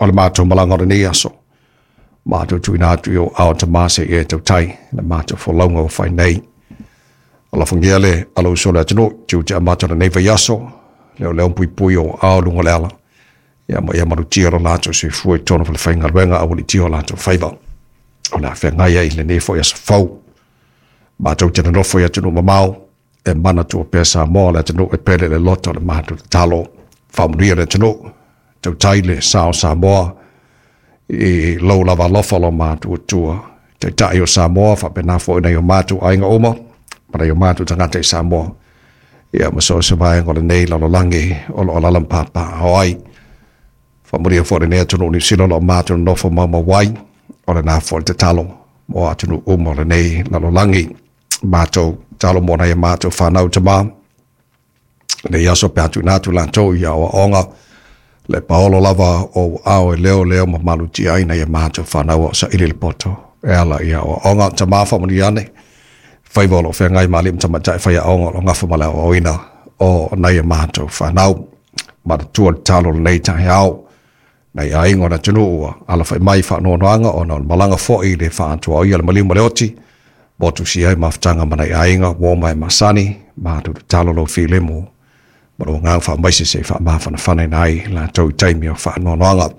O le matou malaga o lenei aso, matou tuuina atu i ou ao Tama se i e tautai le matou folauga ua fai nei. Alofagia le alausu o le atunuu, tiute amata o lenei vaiaso, leo leo puipui o ao luga o le ala, ia ma ia malutia lo latou soifua i totonu o falefaigaluega a ua litia o latou faiva. O le a feagai ai i lenei foi aso fou. Matou te nonofo i atunuu mamao, e manatua pea Samoa le atunuu e pele i le loto o le matou tatalo. Faamanuia le atunuu, tautai le sa o Samoa i lou lava alofa lo matou Atua. Taitai o Samoa faapena foi nai o matou aiga uma ma nai o matou tagata i Samoa. Ia ma so o se vaega o lenei lalolagi o lo o alaala ma papaaao ai. Faamanuia foi lenei atunuu Niu Sila o lo o matou nonofo maumau ai, o lena foi le tatalo mo atunuu uma o lenei lalolagi. Matou tatalo mo nai a matou fanau tama, lenei aso pe a tuuina atu latou i aoaoga, le paolo lava o ou aao e leoleo ma malutia ai nai a matou fanau a o saili le poto e ala i aoaoga. Tama faamanuia ane, faiva o lo o feagai ma alii ma tamaitai faiaoga o lo o gafa ma le aoaoina o nai a matou fanau. Manatua le tatalo o lenei taeao, nai aiga o le atunuu ua alafai mai i faanoanoaga ona o le malaga foi i le faatuaoia le maliu ma le oti, motusia ai mafutaga ma nai aiga ua oma e masani, matou tatalo lau filemu ma lou agaga faamaise se i faamafanafanaina ai latou i taimi o faanoanoaga.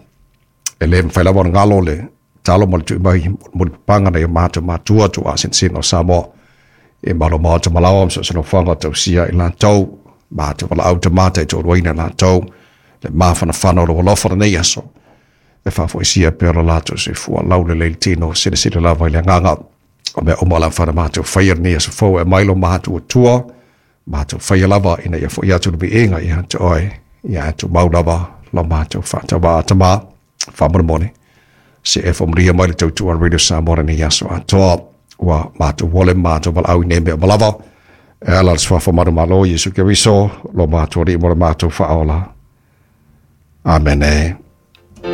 E le mafai lava ona galo le tatalo ma le tui mai mulipapaga nai o matou matua tuuaasinasina o Samoa i malo maota malaoa ma so o se nofoaga o tausia i latou, matou valaau tama taitoaluaina i latou le mafanafana o lou alofa lenei aso e faafoisia pea lo latou soifua laulelei le tino, silasila lava i le agaga o mea uma o le a mafai ona matou faia lenei aso fou e aumai lo matou Atua, matou faia lava ina ia foi atu le viiga ia te oe, ia ae tumau lava lo matou faatauvaa. Tama, faamolemole, se e faamanuia mai le tautua a Radio Samoa lenei aso atoa, ua matou ole ma matou valaau i nei mea uma lava, e ala i le suafa manumalo o Iesu Keriso, lo matou Alii mo le matou faaola. Amene.